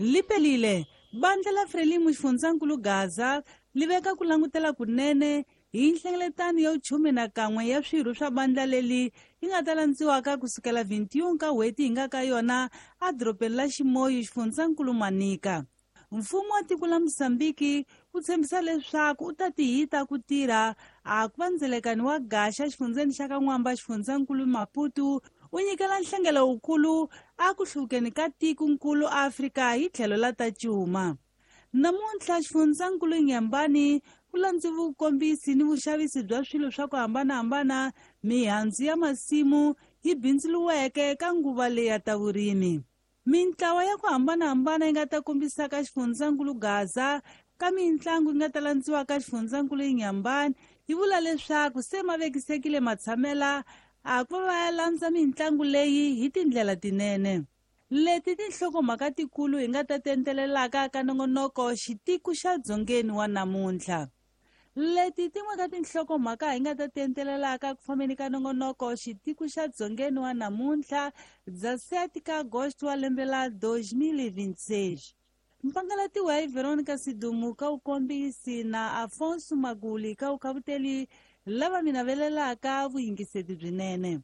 Lipelile bandla la Frelimo xifundzankulu Gaza li veka ku langutela kunene hi nhlengeletano ya vuchume na kan'we ya swirho swa bandla leli yi nga ta landziwaka kusukela 21 ka n'hweti hi nga ka yona edorobeni la Ximoyo xifundzankulu Manika. Mfumo wa tiko la Mozambiki wu tshembisa leswaku u ta tihita ku tirha a ku va ndzelekani wa gaxa xifundzeni xa ka N'wamba xifundzankulu Maputo u nyikela nhlengelo wukulu a ku hluvukeni ka tikonkulu Afrika hi tlhelo la ta cuma. Namuntlha xifundzankulu Nyambani ku landzi vukombisi ni vuxavisi bya swilo swa ku hambanahambana mihandzu ya masimu yi bindzuluweke ka nguva leyi ya ta vurimi. Mintlawa ya ku hambanahambana yi nga ta kombisaka xifundzankulu Gaza ka mintlangu yi nga ta landziwa ka xifundzankulu Nyambani yi vula leswaku se ma vekisekile matshamela a ku va ya landza mintlangu leyi hi tindlela tinene. Leti tinhlokomhaka tikulu hi nga ta tentelelaka ka nongonoko xitiku xa dzongeni wa namuntlha. Leti tin'we ka tinhlokomhaka hi nga ta tentelelaka ku fambeni ka nongonoko xitiku xa dzongeni wa namuntlha dza 7 ka agosto wa lembe la 2026. Mpangalatiwa hi Veronica Sidumu ka vukombisi na Afonso Maguli ka vukhavuteli lava mi navelelaka vuyingiseti byinene.